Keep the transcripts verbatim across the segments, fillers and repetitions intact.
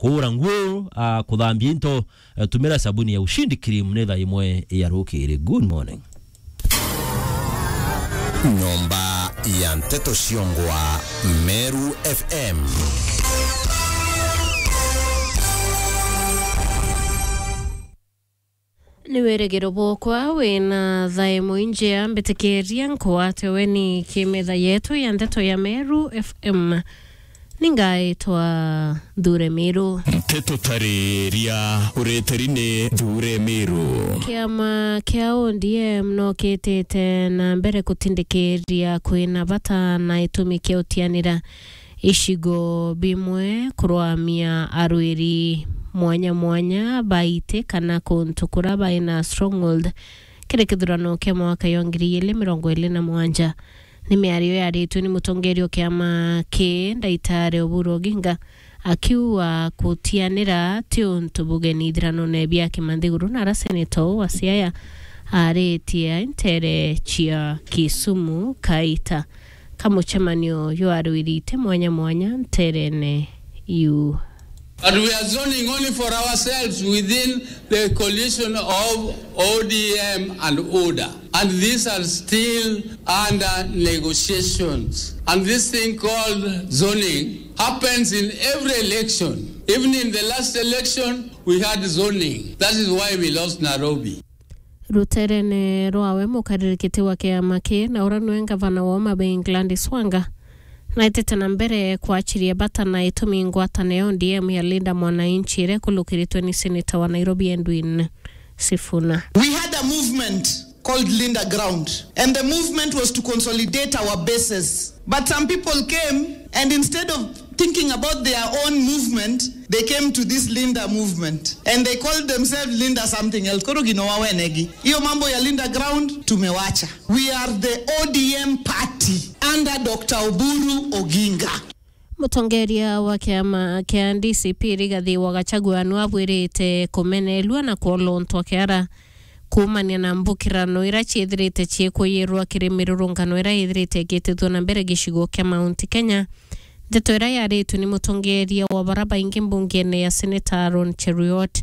kuura nguo, ah, kuthambia into, eh, tumira sabuni ya Ushindi Cream ni thaa imwe ya rukiri. Good morning. Nyomba ya Nteto Ciongwa, Meru F M. Ni wirigiro bwokwa wina thaa imwe injea, mbitikiria nkwate weni kimetha yetu ya Nteto ya Meru F M. Ningaitwa Nthure Miru. Nteto tariria uritiri ni Nthure Miru. Kiama kia O D M no kitite na mbere kutindikiria kwina bata na itumi kia utianira icigo bimwe kurwamia arwiri mwanya mwanya baite kana kuntu kura baina stronghold kiri kithurano kia mwaka ya ngiri igiri mirongo iri na mugwanja. Ni miario yaritue ni mutongeria o kiama ki Ndaitari Oburu Oginga, akiuga kutianira ti untu bugeni ithiranone bia kimanthiguru, na ara seneta uu wa Siaya aritie ntere cia Kisumu kaita ka mucemanio jwa arwirite mwanya mwanya nterene iu. But we are zoning only for ourselves within the coalition of O D M and UDA. And these are still under negotiations. And this thing called zoning happens in every election. Even in the last election, we had zoning. That is why we lost Nairobi. Ruterene rwawe, mukaririkiti wa kiama ki na ura nwe ngavana wa Homa Bay Gladys Wanga, naitite na mbere kwachiria bata na itumi ngwatano ya O D M ya Linda Mwananchi iria ikulukiritwe ni seneta wa Nairobi Edwin Sifuna. We had a movement called Linda Ground, and the movement was to consolidate our bases. But some people came, and instead of thinking about their own movement, they came to this Linda movement, and they called themselves Linda something else. Koro gino wa wenegi. Hiyo mambo ya Linda Ground, tumewacha. We are the O D M party under Doctor Oburu Oginga. Mutongeria wa kiama kia D C P Rigathi wa Gachagua nu abwirite kumenelua na kwolontwa kiara kuumania na mbukirano ira ciithirite ciikwiyirwa kiri mirurungano ira ithirite igitithua na mbere gicigo kia Mount Kenya. Ndeto ira yaritue ni mutongeria wa bara baingi mbungene ya Senator Aaron Cheruiyot,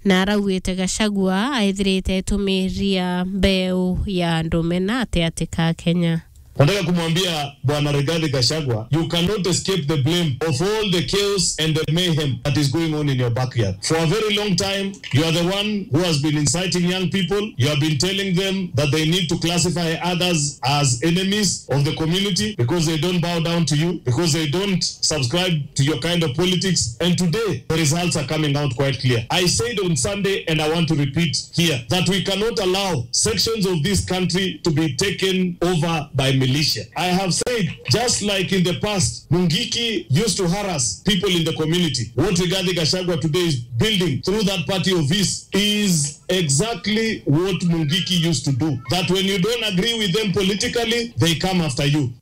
na araugite Gachagua aithirite aitumiria mbeu ya ndume na ati ati ka Kenya. Nataka kumwambia Bwana Rigathi Gachagua, you cannot escape the blame of all the chaos and the mayhem that is going on in your backyard. For a very long time, you are the one who has been inciting young people. You have been telling them that they need to classify others as enemies of the community because they don't bow down to you, because they don't subscribe to your kind of politics. And today, the results are coming out quite clear. I said on Sunday, and I want to repeat here, that we cannot allow sections of this country to be taken over by militia. I have said, just like in the past, Mungiki used to harass people in the community. What Rigathi Gachagua today is building through that party of his is exactly what Mungiki used to do. That when you don't agree with them politically, they come after you.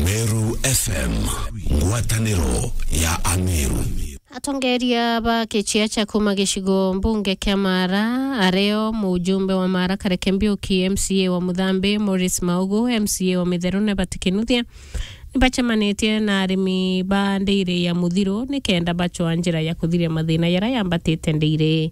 Meru F M, ngwataniro ya Ameru. Atongeria ba kiciacha kuma gicigo mbunge kia Mara, ario mujumbe wa Mara Kareke Mbiuki, M C A wa Muthambi Morris Maugu, M C A wa Mitheru Nebat Kinuthia, nibacemanitie na arimi ba ndiiri ya Muthiru nikenda bacwa njira ya kuthiria mathina jaria yambatite ndiiri.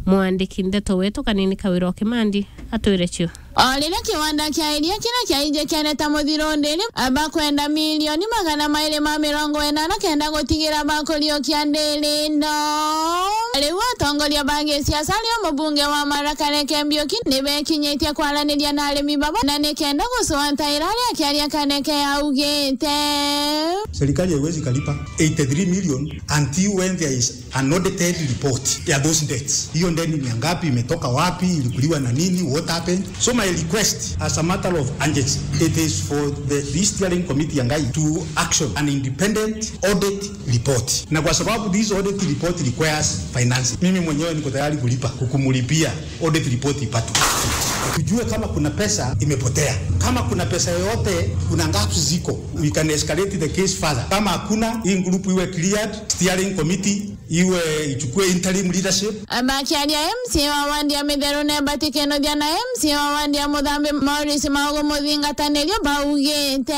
Mwandiki ndeto wetu Kanini Kawira o Kimandi atwire cio. O riria kiwanda kia iria kiria kiainjikianite Muthiru ndiiri, bakwenda milioni magana mairi ma mirongo ina na kenda gutigira bakuriukia ndiiri ino. Riu atongoria ba gisiasa ario mubunge wa Mara Kareke Mbiuki nibekinyitie kwaraniria na arimi baba na nikenda gucwata ira aria akiaria Kareke augite. Serikali haiwezi kalipa eighty-three million until when there is an audited report ya those debts. Hiyo deni ni ya ngapi, imetoka wapi, ilikuliwa na nini, what happened? So my request as a matter of urgency, it is for the, the steering committee ya Ngai to action an independent audit report. Na kwa sababu this audit report requires financing, mimi mwenyewe niko tayari kulipa, kukumulipia audit report ipatwe. Tujue kama kuna pesa imepotea. Kama kuna pesa yoyote, kuna gaps ziko, we can escalate the case further. Kama hakuna, hii group iwe cleared, steering committee Iwe ichukue interim leadership. Bakiaria, M C A wa wandi ya Mitheru Nebat Kinuthia na M C A wa wandi ya Muthambi Maurice Maugu Muthingatanirio baugite,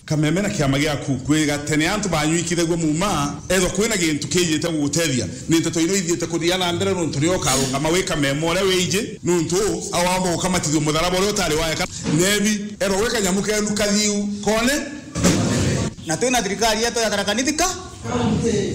Kameme na kiama giaku, kwiga tene antu banyuikithagua muuma, ethwa kwina gintu kiijite gugutethia, ni nteto ino ithiite kuthia na mbere, nuntu nio ukarungama wi Kameme uria wiji, nuntu awamba gukamatithua mutharaba uria utari waeka. Nebi, ethwa gwi kanyamu kenu kathiu kone. Na twina thirikari yetu ya Tharaka Nithi ka?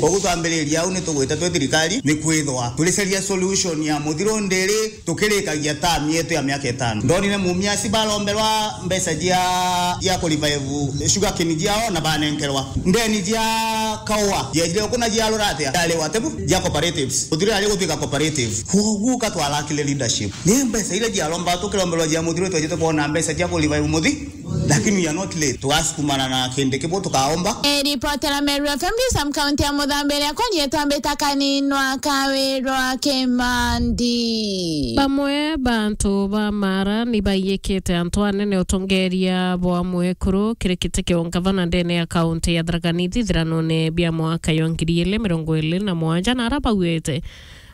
Koguo twambiriria au ni tugwite twi thirikari, ni kwithwa turicaria solution ya muthiru ndiri, tukirikagia term yetu ya miaka itano. Ndonire mumiasi baromberwa mbeca cia, cia ku revive sugarcane ciao na banenkerwa. Ndeni cia kaua, ciejire uku na ciarura atia? Ciari watebu cia cooperatives. Muthiru ari gutwika cooperative. Koguo ka twarakire leadership. Ni mbeca iria ciaromba, tukiromberwa cia muthiru, twejite kwona mbeca cia ku revive muthi. Lakini we are not late. Tugasukumana na kindi kibu tukaomba. Eripotera Meru F M, Sam County ya Muthambi, iria kwanyitwa mbita Kaninwa Kawirwa Kimandi. Bamwe bantu ba Mara ni baiyikite antu anene utongeria bwa mwekuru kiri kiti kia ungavana ndene ya kaunti ya Tharaka Nithi ithiranone bia mwaka ya ngiri ili mirongo ili na mwanja, na ara bauite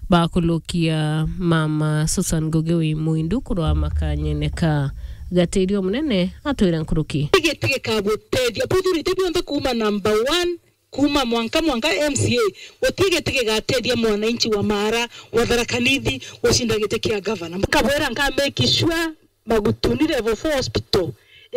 bakulukia mama Susan Ngugi wi Mwindu kurwa makanyene ka Gatirio Munene atwire nkuruki. Giti gikagutethia buthurite bionthe kuuma number one, kuuma mwanka, mwanka M C A, guti giti gigatethia mwananchi wa Mara, wa Tharaka Nithi, gucinda giti kia gavana. Nkabwira nka make sure Magutuni Level four Hospital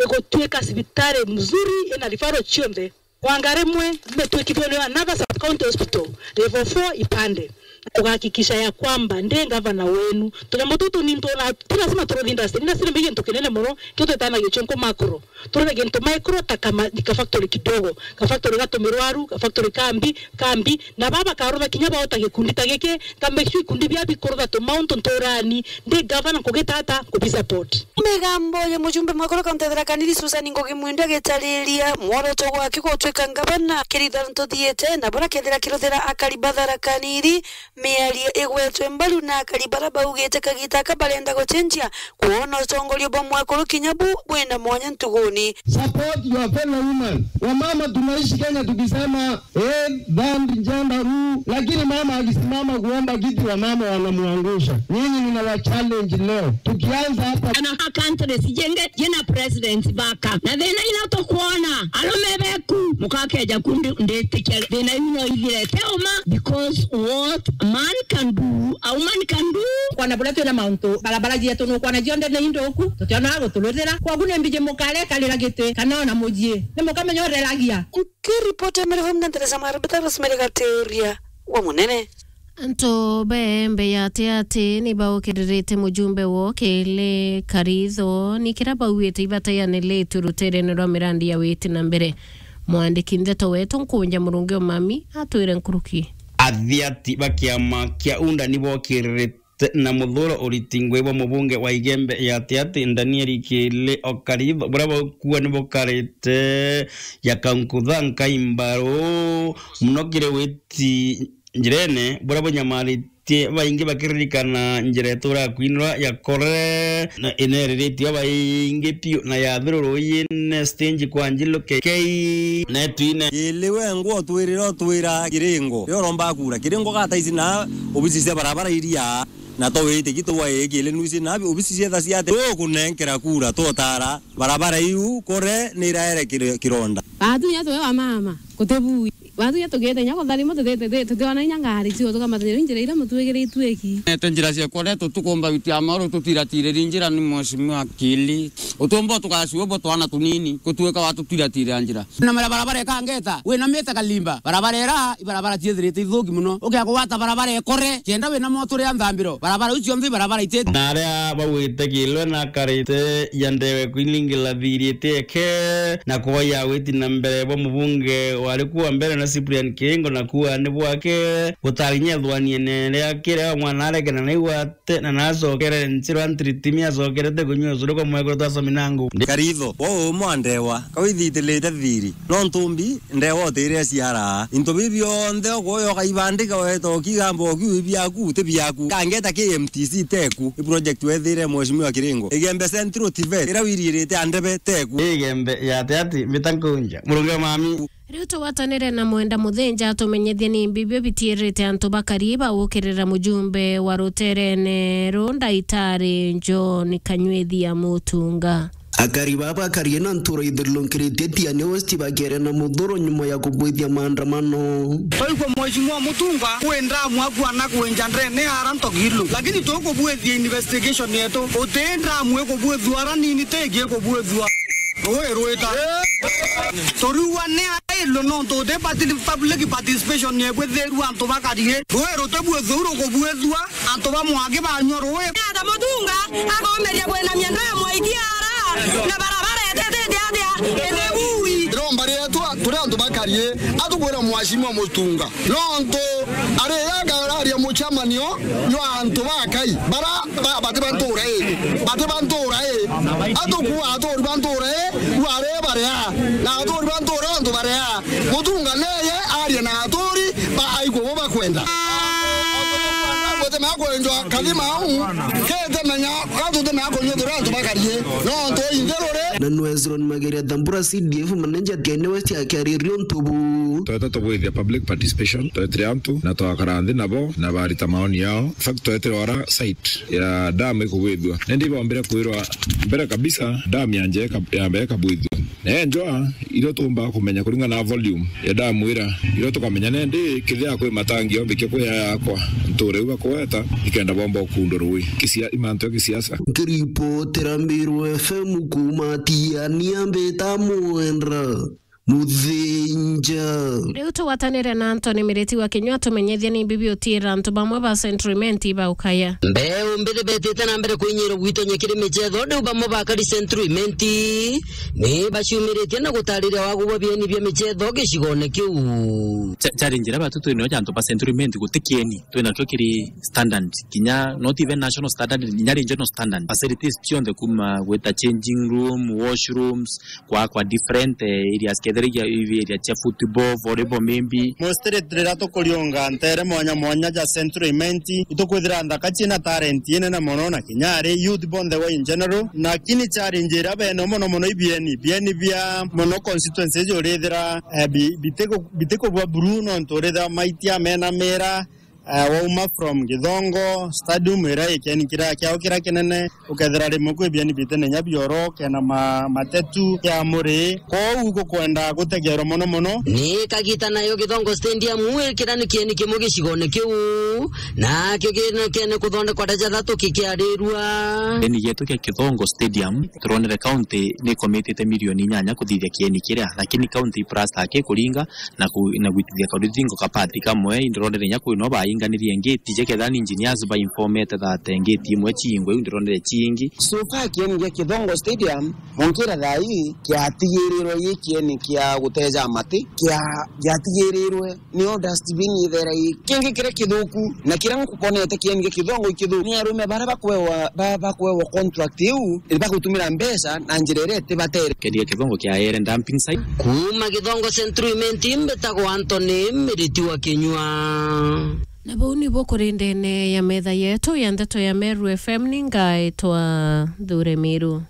igutwika cibitari mzuri ina referral cionthe. Wanga rimwe, metwikithwe ni another sub county hospital, level four Ipande. Kugahakikisha ya kwamba ndi gavana wenu. Tunyambo tutu ni ntona, ti lazima turuthi industry. Industry ni gintu kinene muno, kio twitanagia chonko macro. Turuthi gintu micro ta kama, ka factory kidogo. Ka factory ga tumirwaru, ka factory kambi, kambi. Na baba karutha kinya baota gikundi ta giki, ka make sure ikundi bia bikurutha tu mount nturani. Ndi gavana nkugita ata kubisupport. Migambo ya mujumbe mwekuru kaunti ya Tharaka Nithi Susan Ngugi Mwindu agitariria mworoto gwake gutwika ngavana, kiritha ntuthiite na bura kethira kiruthira akari ba Tharaka Nithi, miario igwetwe mbaru na akari bara baugite kagita aka barenda gucenjia kwona utongoria bwa mwekuru kinya bu bwina mwanya ntuguni. Support your fellow women. Wamama tunaishi Kenya tukisema, eh, third gender rule, lakini mama akisimama kuomba kiti, wamama wanamwangusha. Nyinyi ninawa challenge leo. Tukianza hapa. Na countries jenge jina president baka. Na thina ino tukwona, arume beku, mukakeja kundi nditikia thina ino ithirete uma, because what a man can do, a woman can do. Kwana bula twina mauntu, barabara cietu nukwana cionthe ni indoku, tutionaga guturuthira. Kogu ni mbiji mukare karira giti, kana ona mujii. Ni mukamenya ureragia. Nkiripota Meru F M na Teresa Marubita, Rosemary Gaturia wa Munene. Antu ba Embe ya Atiati ni baukiririte mujumbe woo Kili Karitho ni kiria bauite ibataianiritue ruterene rwa mirandi ya witi na mbere. Mwandiki ndeto wetu Nkunja Murungi Omami atwire nkuruki. Athiati ba kiama kia UNDA ni bokiririte na muthuro uriti ngui bwa mubunge wa Igembe ya Atiati Daniel Kili Okaritho, buria baukua ni bukarite ya kankutha nkaimbaru muno kiri witi njirene, buria bunyamaritie baingi bakiririkana njira itura ya kwinura ya Kore, na ineriritie baingi piu na yathiruruyine stage kwa Njilu K K na itwine. Ili we ngwo twirira utwira Kiringo. Rio romba kura. Kiringo gata ici na obisi cia barabara iria. Na to wite gitu wa egi ile nuisi na obisi cia tha cia te. Tukunenkera kura, tutara. Barabara iu Kore ni iraere kire-, kironda. Batu ya tuwe wa mama, kutebui. Batu ya tugete nya kutharima tutete, tutiona inya ngari cio tukamatenya njira ira mutwigiritue ki. Nete njira cia Kore tutukumba witi ya mauru tutiratire njira ni mheshimiwa Kili. Utumbo tukasiwe bo twana tunini, kutuika watutiratira njira. Na mara barabara ikangeta, wina mita kalimba. Barabara ira, ibarabara ciethirite ithuki muno. Ukia kugwata barabara ikore, kenda wina moto ria nthambiro. Barabara iu cionthe ibarabara ite. Na aria bauite Kilwe na akarite ya ndewe kwiningila thirite eke, na kuoya witi na mbere bwa mubunge wari kuwa mbere na Cyprian Kiringo na kuwa ni bwake, gutarinyethwaniene ria kiria mwana arekena na igwa te na nacokere nchirwa ntritimi acokerete kunyua ucuru kwa mwekuru twasomi na ngu. Karitho, wo umwe andewa, kawithitilite thiri. No ntumbi, ndewa utire ciara. Into bibi bionthe ukoya ukaibandika weta ukigamba ukiu biaku, ti biaku. Kangeta K M T C teku, i project wethire mheshimiwa Kiringo. Igembe Central T V, ira wiririte andebe teku. Igembe ya ati ati, mbita nkunja. Murungi wa mami. Riu tugwatanire na Mwenda Muthinja atumenyithie ni mbi bio bitiirite antu bakari bagukirira mujumbe wa ruterene ru Ndaitari John Kanywethi ya Mutunga. Akari baba bakari na ntura ithurirukiritie Tiani West bakiaria na Muthuro nyuma ya kubwithia maandamano. Twaigua Mheshimiwa Mutunga kwi ndamu akuana kwinja ndene ara ntogilu, lakini tukubwithia investigation yetu, uti ndamu ikubwithua ara nini tingi ikubwithua. Rui rwita. Turiua ni ailwe nontu uti parti-, public participation ni ibwithirua antu bakari. Rui rutibwithua rukubwithua antu ba Mwangi banyua rui. Ata Mutunga akomeria kwinamia nda ya Mwaikia ara na barabara etetete atia ithibui. Iromba rietwa turi antu bakari, atukwira Mheshimiwa Mutunga. Nontu ari agararia mucemanio jwa antu bakai bara ba-, bati ba ntura ii, bati ba ntura ii, atukuua aturi ba ntura ii, bwari baria, na aturi ba ntura ontu baria. Mutunga neye aria na aturi ba aikua bo bakwenda. Gute mea kwenjwa kathima au, kete menya, gatu te mea kunyua turi antu bakari, nontu inthe ruri. Na nwe Hezron Mageria Thambura, C D F manager Tiani West akiariria untu bu. Tweta tubwithia public participation, twetire antu na twakara nthi nabo na barita maoni yao. In fact, twetire ora site ya dam ikubwithua. Nindi ibombire kwirwa mbere kabisa dam yanje ika-, yambe ikabwithua. Na enjwa irio tuumba kumenya kuringana na volume ya dam ira, irio tukamenya nindi kithia kwi matangi ombikia kwi yakwa nture iu bakweta ikenda bomba ukundwa rui. Kisia-, imantu ya kisiasa. Nkiripotera Mbiru F M kuuma Tiania, mbita Mwenda Muthinja. Riu tugwatanire na Anthony Miriti wa Kinyua, tumenyithie ni mbi biutiira antu bamwe ba Central Imenti baukaya. Mbeu mbithi betite na mbere kuinyirwa gwitonya kiri michetho, riu bamwe bakari Central Imenti ni baciumiritie na gutariria wagu bwa bieni bia michetho gicigone kiu. Cha-, challenge iria batu twinayo ja antu ba Central Imenti guti kieni twinakio kiri standard, kinya not even national standard, kinya regional standard. Facilities cionthe kuma gwita changing room, washrooms, kwa, kwa different, eh, areas, kethira iria, iria area cia football, volleyball maybe. Mostly riria tukuriunga ntere mwanya mwanya ja Central Imenti, itukwithira nthaka ciina talent inene mono na kinya ari youth bonthe wa in general. Lakini challenge iria bene mono mono ibieni, bieni bia mono constituency icio urithira, eh, bi-, bitiku-, bitikubua buru nontu urithira maitia mena mira, eh, wauma from Githongo Stadium, iria ikieni kiria kiao kiria kinene, ukethira rimwe kwi bieni bitene nya bioro, kena ma-, matetu ya muri. Kwou gukwenda gutegerwa mono mono. Ni kagita nayo Githongo Stadium, ikira ni kieni kimwe gicigone kiu, nakio kine kuthondekwa ndaja thatu kikiarirua. Kieni gietu kia Githongo Stadium, turonere county ni ikomitite milioni inyanya kuthithia kieni kiria, lakini county plaster akikuringa, na ku-, na gwitithia karuthingo kapati kamwe, indironere inya kwino bainganirie ngiti, je kethira ni engineers bainformete that ngiti imwe ciingwe, iu ndironere ciingi. So far, kieni gia Githongo Stadium, munkira thaa ii, kiatigirirwe gi kieni kia guteja mati, kia-, giatigirirwe nio dustbin ithera i. Kingi kiria kithuku, na kiria nkukonete kieni gia Githongo i kithuku, ni arume baria bakwewa, ba-, bakwewa contract iu, ni bagutumira mbeca na njira iria itibatere. Kieni gia Githongo kiaere dumping site. Kuuma Githongo Central Imenti, mbitagwa Anthony Miriti wa Kinyua. Na bau nibo kuri ndene ya metha yetu ya ndeto ya Meru F M, ni ngaitwa Thure Miru.